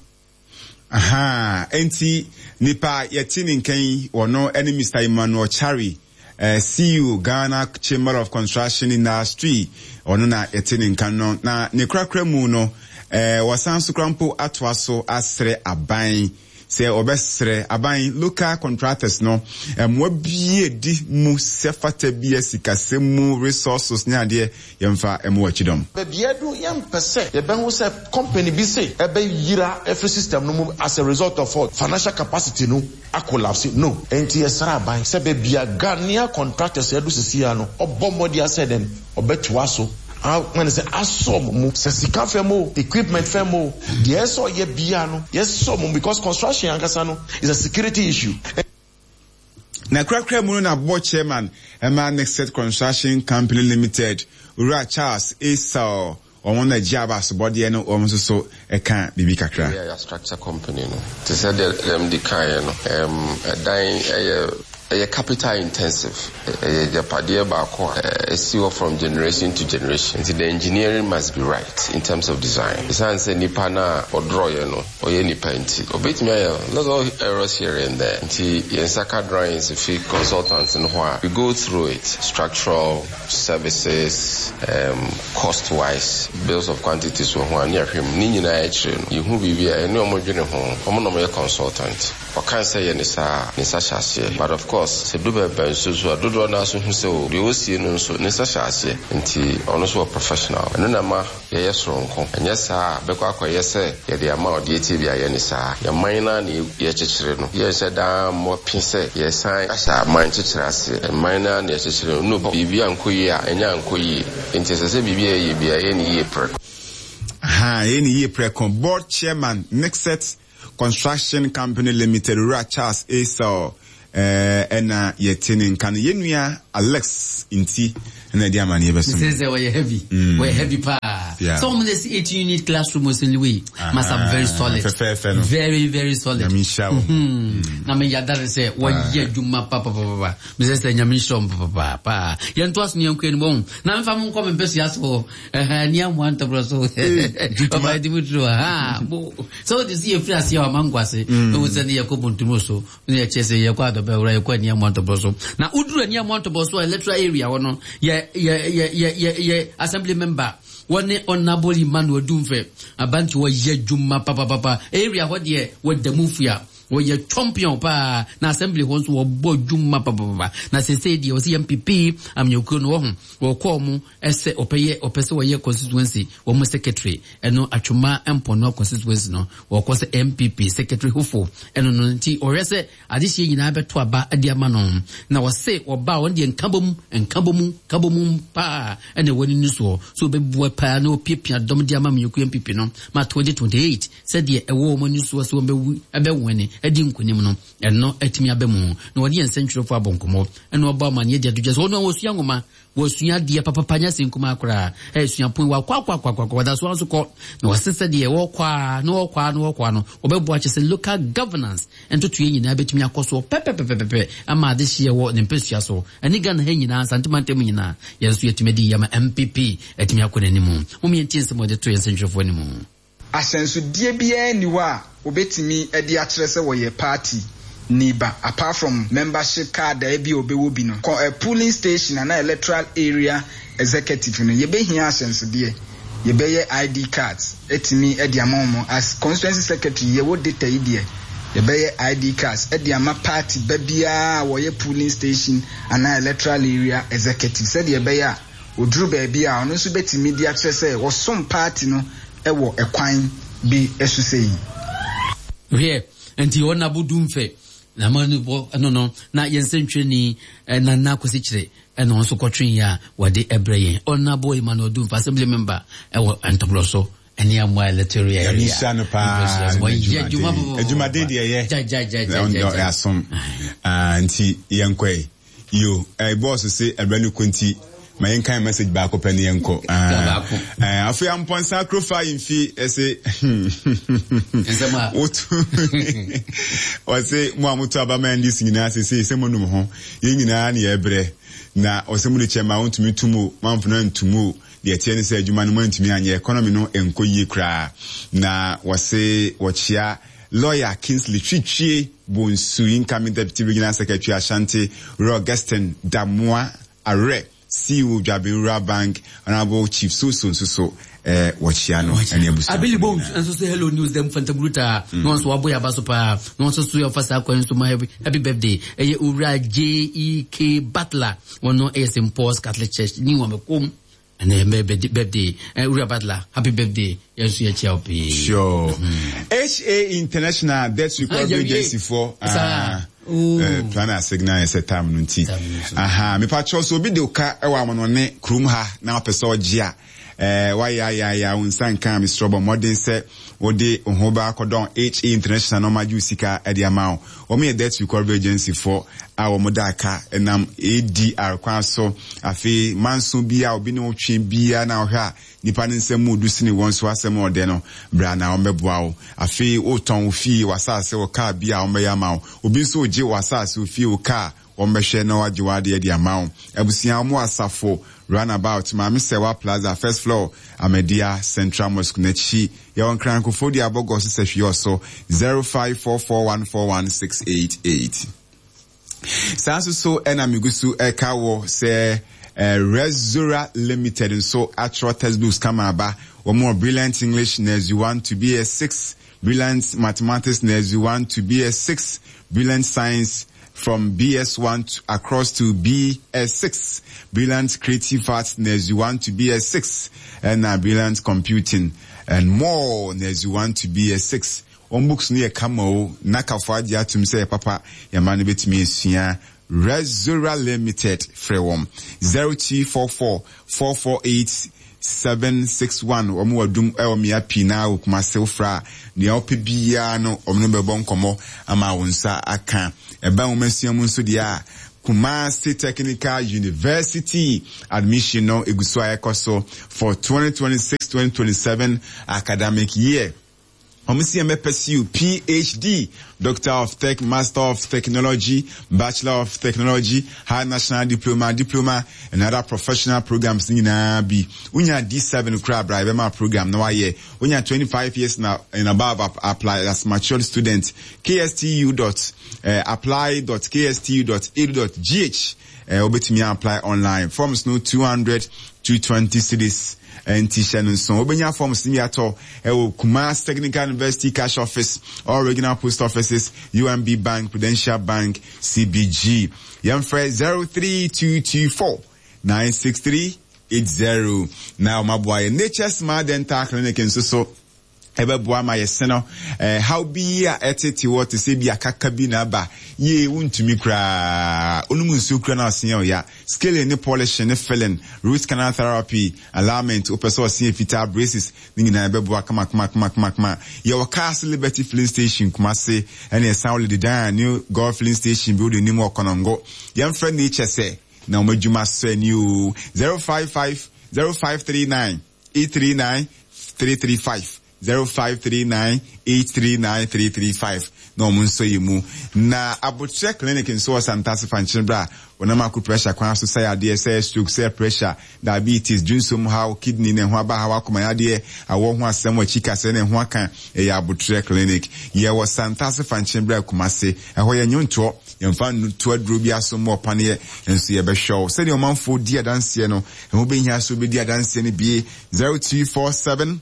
S3: Aha, enti nipa yɛte ne nkan, wɔno ɛne Mister Emmanuel Chari, uh, C E O, Ghana Chamber of Construction Industry. Ɔno na yɛte ne nkan no. Na ne korakora mu no, uh, wɔsan so kora mpo atoa so asrɛ aban sɛ ɔbɛsrɛ aban local contractors no mmoa bie di mu sɛ fata bi sikasɛm mu, resources ne adeɛ, yɛmfa mmoa akyidɔm.
S7: Baabi adu, yɛmpɛ sɛ yɛbɛho sɛ company bi se ɛbɛyira ɛfiri system no mu as a result of what financial capacity no acollapse no. Nti yɛsrɛ aban sɛ baabi a Ghanaian contractors ɛdu sisi ya no, ɔbɔ mmɔde asɛ dɛn ɔbɛtoa so wọn sɛ asɔ mu sɛ sika fɛm o, equipment fɛm o, deɛ ɛsɛ ɔyɛ bia no, yɛsɔ mu because construction ankasa no is a security issue.
S3: Na kurakura mu no, na board chairman ɛma Nexet Construction Company Limited, Owura Charles Esau, wɔn na gye aba asobɔdeɛ no, wɔn nso so ɛka biribi kakra.
S8: Yɛ structure company no, te sɛ deɛ dɛm di kaeɛ no, ɛdan ɛyɛ ɛyɛ capital intensive, ɛyɛ agyapadeɛ baako a ɛsi hɔ from generation to generation, nti the engineering must be right in terms of design. Ɛsiane sɛ nipa no a ɔdrɔyɛ no ɔyɛ nipa nti, ɔbɛtumi ayɛ little errors here and there. Nti yɛn nsa ka drawings fi consultants no hɔ a, we go through it, structural services, um, cost wise, bills of quantities wɔ ho a, ne ahwɛ mu ne nyinaa akyire no, yɛhu biribi a ɛne ɔmo dwene ho. Ɔmo na ɔmo yɛ consultant, ɔka sɛ yɛ ne saa, ne nsa hyɛ aseɛ. But of course, sɛ du bɛbɛn nso so a, dodoɔ no aso hu sɛ o, deɛ ɔsie no nso ne nsa hyɛ aseɛ, nti ɔno nso wɔ professional. Ɛno na ma yɛyɛ soronko. Ɛnyɛ saa a, bɛkɔ akɔyɛ sɛ yɛde ama ɔde etie bi ayɛ ne saa. Yɛman no na yɛkyekyere no, yɛnhyɛ daa mmɔ pe sɛ yɛsan ahyɛ aman kyekyere aseɛ. Ɛman no na yɛkyekyere no no, biribi ankɔ yie a, ɛnyɛ ankɔ yie, nti ɛsɛ sɛ biribi a yɛyɛ bia, ɛyɛ ne yie prɛko.
S3: Ha, yɛ ne yie prɛko. Board chairman, Nixet Construction Company Limited, Owura Charles Esau, ɛna yɛte ne nka no. Yɛn nua Alex nti ɛna ɛde amaneɛ bɛso.
S1: Sɛ sɛ wɔyɛ heavy, wɔyɛ heavy paa.
S3: Yeah.
S1: So wɔn de si eighteen unit classroom wɔ Saint Louis must have very solid.
S3: Fɛfɛɛfɛ no.
S1: Very very solid.
S3: Nyame nhyira wɔn.
S1: Mhm. Na me yada ne sɛ wɔyɛ adwuma papapapa. Mesɛ sɛ Nyame nhyira wɔn papapapa. Yɛn to aso ne yɛn kɔ anim wɔn na nfa mo nkɔ me mpɛ so so ɛhɛn ní amoa ntɔbrɔ so. Ɔba ɛdi mu turo ha bo sɛ wɔde si yɛfiri aseɛ wɔ amango ase ɛwɔ sɛ ne yɛkɔ bontumu so ne yɛkyɛ sɛ yɛkɔ adɔbɛ wura, yɛkɔ ani amoa ntɔbrɔ so. Na woduru ani amoa ntɔbrɔ so a, electoral area hɔ no, yɛ yɛ yɛ yɛ yɛ yɛ assembly member wɔne Honourable Emmanuel Dumfɛ abante, wɔyɛ adwuma papapapa. Area hɔ deɛ, wɔda mu fua, wɔyɛ champion paa. Na assembly hɔ nso, wɔbɔ adwuma papapapa. Na sese deɛ, wɔsi yɛ N P P amanyɔkuo no, wɔ ho wɔkɔɔ mu ɛsɛ ɔpɛyɛ ɔpɛ sɛ wɔyɛ constituency wɔn secretary. Ɛno Atwoma Mpɔnoa constituency no, wɔkɔ sɛ N P P secretary hofo ɛno no. Nti ɔhwɛ sɛ adehyeɛ nyinaa bɛto aba de ama no. Na wɔse ɔba a, wɔn deɛ, nkabom nkabom nkabom paa ɛna ɛwɔ ne soɔ so, ɔbɛbua paa na ɔpiapia dɔm de ama amanyɔkuo N P P no ma twenty twenty-eight, sɛdeɛ ɛwɔ wɔn ani soɔ sɛ wɔn bɛwu ɛbɛwɛne. adi nkonim no ɛno atumi aba mu na wɔde yɛn nsɛntwerɛfoɔ abɔ nkɔmmɔ ɛna ɔbɔ amanneɛ de ato dwa sɛ ɔno a wɔsua nwoma wɔsua adeɛ papapa nyɛ sɛ nkumaa koraa ɛsua pon wakɔ akɔ akɔ akɔ wɔda so nso kɔ na wɔse sɛ deɛ wɔkɔ a na wɔkɔ a na wɔkɔ a no wɔbɛboa kyɛ sɛ local governance ntotoeɛ nyinaa bɛtumi akɔ soɔ pɛpɛpɛpɛpɛ ama adehyeɛ wɔ ne mpɛsua so ɛne Ghana ha nyinaa Nsantemantam nyinaa yɛn nso yɛtumi adi yɛma N P P atumi akɔ n'anim. Mom yɛntie nsɛm a wɔde to yɛn nsɛntwerɛfoɔ anim.
S9: Ahyɛnsodeɛ biara nni hɔ a wɔbɛtumi de akyerɛ sɛ wɔyɛ party ni ba, apart from membership card a ebi a ɔbɛwɔ bi no kɔ ɛ polling station ana electoral area executive no, yɛbɛhia ahyɛnsodeɛ. Yɛbɛyɛ I D cards ɛtumi de ama wɔn. As constituency secretary, yɛwɔ data yi deɛ, yɛbɛyɛ I D cards ɛde ama party ba biara a wɔyɛ polling station anaa electoral area executive, sɛdeɛ ɛbɛyɛ a oduru baabi a ɔno nso bɛtumi de akyerɛ sɛ wɔsom party no ɛwɔ ɛkwan bi ɛso sɛ yi.
S1: Hwɛ, nti ɔna abodu mfɛ na ma no bɔ ɛno no na yɛn nsɛntwerɛni Nana Akwasi Kyerɛ ɛna ɔno nso kɔtwe yɛ a wɔde ɛbrɛ yɛn Ɔnabo Emmanuel Dumfa, assembly member ɛwɔ Ntɔborɔ so ɛne amoa electoral area.
S3: Nyame nhyira no paa.
S1: Wɔyɛ adwuma.
S3: Adwumaden deɛ ɛyɛ
S1: gyagyagyagyagya.
S3: Asom nti yɛnkɔ yi yo bɔɔso se ɛbrɛ no kɔ nti ma yɛnkan message baako pɛ ne yɛnkɔ. Afei Ampɔnsa kurofa yi mfi ɛse wotu ɔse mo a moto aba ma N D C nyinaa sesei sɛ monum ho yɛn nyinaa ne yɛbrɛ na ɔsɛ mo de kyɛ ma wontumi tum o, mamfona ntum o. Deɛ ɛteɛ ne sɛ adwuma no moantumi anyɛ, economy no nkɔ yie koraa. Na wɔse wɔkyea Lawyer Kingsley Twitwie Bonsu, incoming deputy regional secretary Ashanti, Royal Augustine Damoa Arɛ, C E O Dwaben Rural Bank, Honorable Chief Soso nso so eh, wɔkyea no ɛne abusua.
S1: Abili Bones nso so, hello news dem Fantaburuta na wɔn nso wabɔ yaba so paa na wɔn nso so yɛfa saa kwan nso ma happy, happy birthday ɛyɛ Owura J E K Butler. Wɔn no ɛyɛ Saint Paul's Catholic Church ní wɔn bɛkɔm ɛnɛ yɛ birthday. Owura Butler, happy birthday, yɛn nso yɛkyia wo pii.
S3: Sure. H A International Debt Recovery Agency for plan a signal yɛ sɛ time no nti aha mepakyɛw so obi de ka ɛwɔ amanɔne kurom ha na wapɛ sɛ ɔgye a ɛɛ wayɛ ayɛ ayɛ wo nsa nka, mesrɛ bɔ mmɔden sɛ wode wo ho ba akɔdɔn H A International na ɔmagye wo sika de ama wo. Wɔn yɛ debt recovery agency fo a wɔn da aka nam A D R kwan so. Afei manso bi a obi ne wo twe biara na ɔhwɛ a nipa ne nsɛm mu du sene wɔn so asɛm a ɔdɛ no bra na wɔn bɛboa wo. Afei wotɔn wo fie, w'asase, wo kaa bi a wɔn bɛyɛ ama wo. Obi nso gye w'asase, wo fie, wo kaa, wɔn bɛhwɛ na wagye w'adeɛ de ama wo. Abusua, wɔn wɔ Asafo Roundabout, Maame Sɛwa Plaza, first floor, Ahmadiyya Central Mosque n'akyi. Yɛwɔ Nkrankofo de abɔgɔ so sɛ hwee ɔso zero five four four one four one six eight eight. Saa nso so ɛna megu so ɛka wɔ sɛ eh, Rezora Limited nso atwerɛ textbooks kama aba. Wɔn wɔ Brilliant English Nursery one to B S six, Brilliant Mathematics Nursery one to B S six, Brilliant Science from B S one to, across to B S six, Brilliant Creative Arts Nursery one to B S six, and uh, Brilliant Computing and more Nursery one to B S six. Wɔn books no yɛ kama o, nakafo agye atum sɛ yɛ papa. Yɛma no bɛtumi esua. Rezora Limited, frɛ wɔn zero two four four four four eight seven six one. Wɔn wɔ dum ɛwɔ mmea pii na wɔ Kumase. Wofra a nea ɔpɛ biara no wɔn no bɛbɔ nkɔmɔ ama wɔn nsa aka. Ɛban wɔn asua mu nso deɛ a, Kumasi Technical University admission no egu so a ɛkɔ so for twenty twenty-six twenty twenty-seven academic year. Wɔn si yɛn pursue P H D, Doctor of Tech, Master of Technology, Bachelor of Technology, Higher National Diploma, Diploma and other professional programs nyinaa bi. Wonya D seven kura abira ɛbɛma program na wayɛ. Wonya twenty-five years na and above, apply as matured student. K S T U dot uh, apply dot kstu dot edu dot gh. Wobɛtumi apply online. Forms no two hundred to twenty cedis nti hyɛ no nso. Wobɛnya forms no bi atɔ ɛwɔ Kumasi Technical University cash office, all regional post offices, U M B Bank, Prudential Bank, C B G. Yɛmfrɛ zero three two two four nine six three eight zero na ɔmaboa yɛ. Nature Smart Dental Clinic nso so Ɛbɛboa ma yɛse no eh, haw bi a ɛtete wɔ te sɛ bi akaka bi na aba yie, wontumi koraa onom nsuo kura no aseɛ ɔya. Scaling ne polishing ne filling, root canal therapy, alignment, wopɛ sɛ ɔseɛ fitaa, braces ne nyinaa ɛbɛboa kama kama kama kama kama. Yɛwɔ Cars Liberty Filling Station Kumase, ɛne ɛsan wɔ Ledidan New Gold Filling Station building nim wɔ Kɔnɔngo. Yɛmfrɛ Nature sɛ na wɔn adwuma sɔ ani o. zero five five zero five three nine eight three nine three three five, zero five three nine eight three nine three three five na wɔn nso yɛ mu. Na Abotire Clinic nso wɔ Santase Fankyerɛ a wɔnam ako pressure kwan so sɛ adeɛ sɛ stroke, sɛ pressure, diabetes, dwonsom haw, kidney ne ho aba haw, akoma yadeɛ, awɔ ho asɛm, akyi kasɛ ne ho aka, ɛyɛ Abotire Clinic. Yɛwɔ Santase Fankyerɛ bra Kumase. Ɛhɔ yɛ nnwontoɔ, yɛmfa nto aduro bi aso mu ɔpaneɛ nso yɛbɛhwɛ wo sɛdeɛ ɔmanfoɔ di adanseɛ no. Ɛho bɛhia so wobɛdi adanseɛ no bie. zero two four seven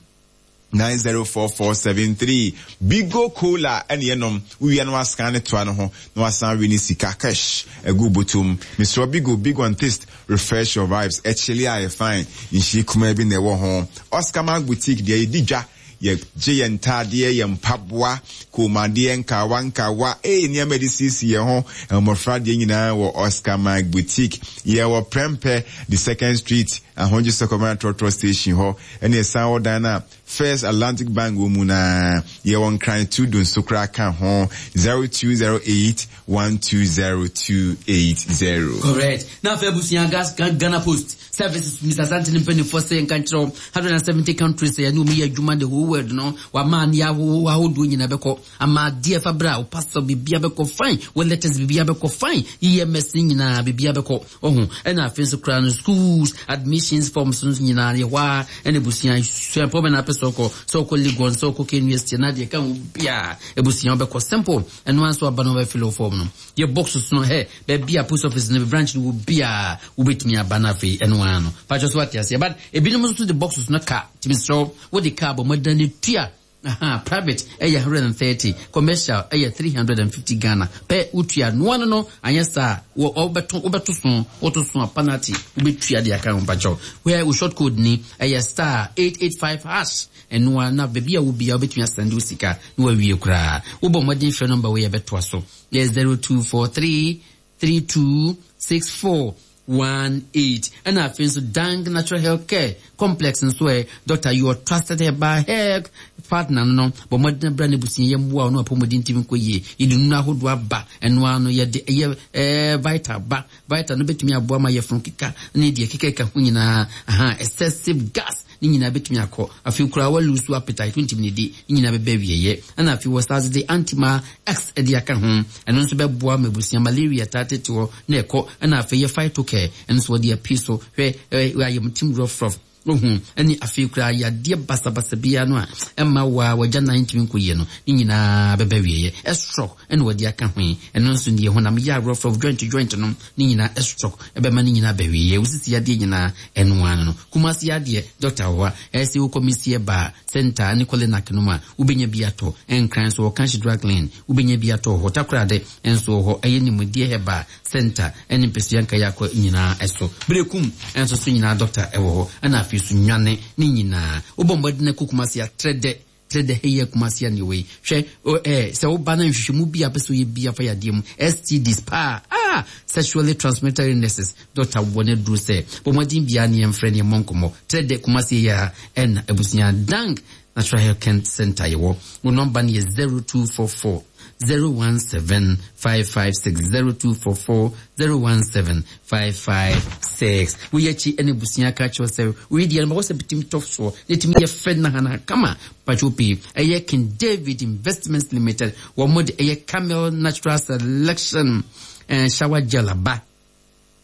S3: nine zero four four seven three. Bigo Cola ɛne yɛnom wowia no wasan ne toa no ho na wasan we ne sika cash ɛgu botom. Mesrɛ, Bigo, big on taste, refresh your vibes. Ɛkyele a yɛ fine nhyie kumaa bi na ɛwɔ ho. Oscar Mark Boutique deɛ, yɛdi dwa, yɛgye yɛn ntaadeɛ, yɛn mpaboa, kɔnmuadeɛ, nkawa nkawa, ee, nneɛma yɛde siesie yɛn ho, mmɔfra deɛ nyinaa wɔ Oscar Mike Boutique. Yɛwɔ Prɛmpɛ the Second Street, Ahodwo Sɔkɔmara trɔtrɔ station hɔ, ɛne ɛsan wɔ dan no a First Atlantic Bank wɔ mu. Na yɛwɔ Nkran Tudu nso koraa ka ho. zero two zero eight one two zero two eight zero.
S1: Correct. Na afei abusua, gas Ghana Post Services, Mister Asante ne mpanimfoɔ sɛ nka nkyerɛ one hundred seventy countries yɛne wɔn yɛ adwuma, the whole world no. Wama ne ahodoɔ nyinaa bɛkɔ ama adeɛ fa berɛ a wo pastor biribia bɛkɔ fine, wo letters biribia bɛkɔ fine, E M S nyinaa biribia bɛkɔ ɔho. Ɛna afei nso koraa no, schools admissions forms nso nyinaa yɛ hɔ a. Ɛna abusua, suapɔ bɛ na apɛ sɛ ɔkɔ, sɛ ɔkɔ Legon, sɛ ɔkɔ K N U S T na deɛ ka ho biaa, abusua wobɛkɔ simple. Ɛno ara nso aba no, wɔbɛfill form no. Yɛ boxes no hɛ baabi a post office no branch no wɔ biaa, wobɛtumi aba no. Afei ɛno ara no patwɛ so ate aseɛ, but ebinom nso de boxes no ka tumi serɛ wode kaa bɔ mmɔden ne tua. Aha, private ɛyɛ one hundred thirty, commercial ɛyɛ three hundred fifty Ghana pɛ. Wotua noa no no anyɛ saa wɔ ɔbɛto wobɛto so, woto so a, penalty wobɛtua de aka ho. Mpakyɛw, where wo short code ni ɛyɛ star eight eight five hash. Ɛnoa na baabi a wo bia wobɛtumi asend wo sika na wawie koraa. Wobɔ mmɔden frɛ number wei, yɛbɛtoa so, yɛ zero two four three three two six four one eight. Ɛna afei nso Dank Natural Health Care Complex nso ɛ doctor, your trusted herbal health partner no no bɔ mmɔden bra ne busua yɛ mmoa no apɔmuden ntumi nkɔ yie. Yɛde nunu ahodoɔ aba. Ɛno ara no yɛde ɛyɛ ɛɛ vital ba. Vital no bɛtumi aboa ma yɛfunu keka ne deɛ kekeka ho nyinaa. Aha, excessive gas ne nyinaa bɛtumi akɔ. Afei koraa walose appetite, wontumi ne di, ne nyinaa bɛbɛ awieɛ. Ɛna afei wɔ sase de Antima X de aka ho, ɛno nso bɛboa ma abusua malaria taa tete hɔ na ɛkɔ. Ɛna afei yɛ Phytocare, ɛno nso wɔde apii so hwɛ ɛ ayɛmtim rɔfrɔf ohu. Ɛne afei koraa yadeɛ basabasa biara no a ɛma waa wagya nan ntumi nkɔ yie no, ne nyinaa bɛbɛ wieɛ. Ɛstrɔk ɛna wɔde aka ho yi, ɛno nso deɛ honam yɛ aworɔfrɔf, joint joint no ne nyinaa ɛstrɔk ɛbɛma ne nyinaa bɛwieɛ. Wosisi yadeɛ nyinaa, ɛno ano no Kumasi adeɛ dɔkta wɔ hɔ a ɛsɛ wokɔ Misie Ba Center ne Kɔlenak no mu a, wobɛnya bi atɔ. Ɛnkran so wɔka hye drug lane, wobɛnya bi atɔ hɔ. Takorade nso wɔ hɔ, ɛyɛ Nimdeɛ Herbal Center ɛne mpɛsua nkaeɛ akɔ nyinaa ɛso. Berekum ɛnso so nyinaa dɔkta ɛwɔ hɔ. Ɛna afei so Nwane ne nyinaa wobɔ mmɔden akɔ Kumasi atrɛ dɛ trɛ dɛ hɛyɛ Kumasi a wei hwɛ ɛɛ sɛ woba na nhwehwɛmu bi a pɛ sɛ woyɛ bi afa yadeɛ mu, S T Ds paa, ah, sexually transmitted illnesses, dɔkta wɔ ne duro sɛ bɔ mmɔden biara ne yɛmfrɛ ne yɛmmɔ nkɔmmɔ. Trɛ dɛ Kumasi yɛ a ɛna abusua Dank Natural Health Care Center yɛwɔ. Wo number no yɛ zero two four four zero one seven five five six, zero two four four zero one seven five five six. Woyɛ akyi ɛne abusua ka kyerɛ sɛ woyi deɛ no ma wɔsɛ bitumi tɔ soɔ na ɛtumi yɛ fɛ nahana kama. Patwo pii ɛyɛ King David Investments Limited, wɔn mo de ɛyɛ Camel Natural Selection ɛɛ shower gel aba.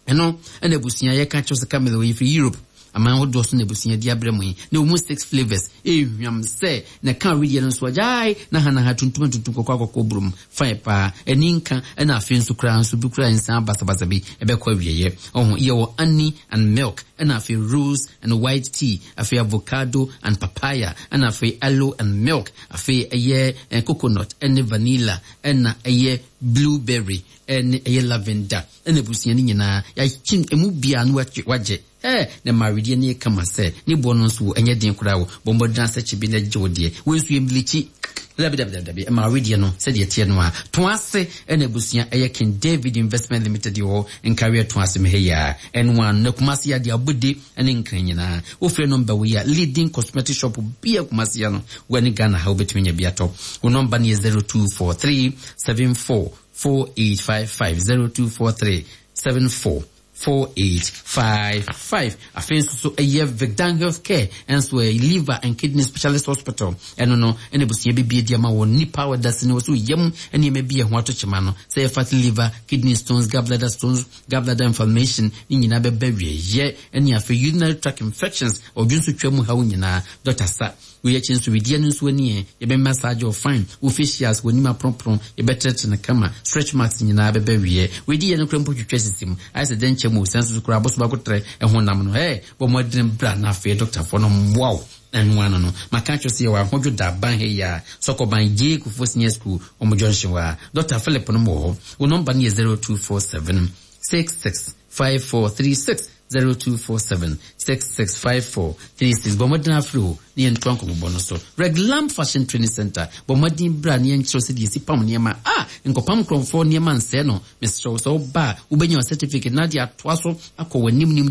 S1: Ɛno ɛna abusua yɛka kyerɛ sɛ Camel wɔ firi Europe aman ahodoɔ so na abusua di abrɛ mu yi na wɔn six flavours ehwam sɛ na ka wedeɛ no nso agyae na hanaha tuntum tuntum, kɔkɔɔ akɔkɔɔ burom fine paa, ɛni nka. Ɛna afei nso koraa nso bi koraa nsan basabasa bi ɛbɛkɔ awieɛ. Ɔho yɛwɔ honey and milk, ɛna afei rose and white tea, afei avocado and papaya, ɛna afei aloe and milk, afei ɛyɛ eh, coconut ɛne vanilla, ɛna ɛyɛ Blueberry ɛne ɛyɛ lavender ɛna abusua no nyinaa yɛakyi emu bia no wagye ɛ na mawedeɛ no yɛ kama sɛ ne boɔ no nso ɛnyɛ den koraa. Wo bɔ mmɔden asɛ kye bi na gye wo deɛ. Wei nso yɛ mbilikyi. Dabi, dabi, dabi, dabi, ɛma awedeɛ no sɛdeɛ teɛ no a to ase. Ɛna abusua ɛyɛ King David Investment Limited wɔ nkareɛ to ase mehɛ yi a ɛno a na Kumase adeɛ abɔde ɛne Nkran nyinaa. Wofrɛ number wei a, leading cosmetic shop bia Kumase no wɔne Ghana ha, wobɛtumi anya bi atɔ. Wo number no yɛ zero two four three seven four four eight five five, zero two four three seven four four eight five five. Afei nso so ɛyɛ Vicdan Healthcare, ɛnso ɛyɛ liver and kidney specialist hospital. Ɛno no ɛna abusua bibie di ama wɔ nipa a wɔda sini wɔ so yam nneɛma bi ɛho ato kyema no, sɛ yɛ fatty liver, kidney stones, gallbladder stones, gallbladder inflammation ne nyinaa bɛbɛ wieyɛ, ɛne afei urinary tract infections, ɔdwo nso twa mu haw nyinaa. Doctor sa wei akyi nso, wedeɛ no nso ani ɛ yɛbɛ massage wo fine, wo facials, w'anim aporoporo, yɛbɛtrɛtrɛ no kama, stretch marks nyinaa bɛbɛ wie. Wedi yɛ no kora mpo twitwa sisi mu ayɛ sɛ dɛnkyɛ mu sɛ nso so kora abɔso baako trɛ ɛho nam no ɛ bɔ mmɔden bra na afei dɔktafoɔ no mmoa wo. Ɛno ano no maka kyerɛ sɛ yɛwɔ Ahodwo da ban ha yi a Sɔkɔban Gye Kufuor Senior School ɔmo junction hɔ a Doctor Philip no wɔ hɔ. Wo number no yɛ zero two four seven six six five four three six, zero two four seven six six five four three six. Bɔ mmɔden afiri hɔ ne yɛntoa nkɔmmɔbɔ no so. Reglam Fashion Training Center, bɔ mmɔden bra ne yɛnkyerɛw sɛ deɛ yɛsi pam nneɛma a nkɔpam nkurɔfoɔ nneɛma nsɛe no. Mesrɛ wo sɛ woba a, wobɛnya wo certificate na de atoa so akɔ w'anim nim.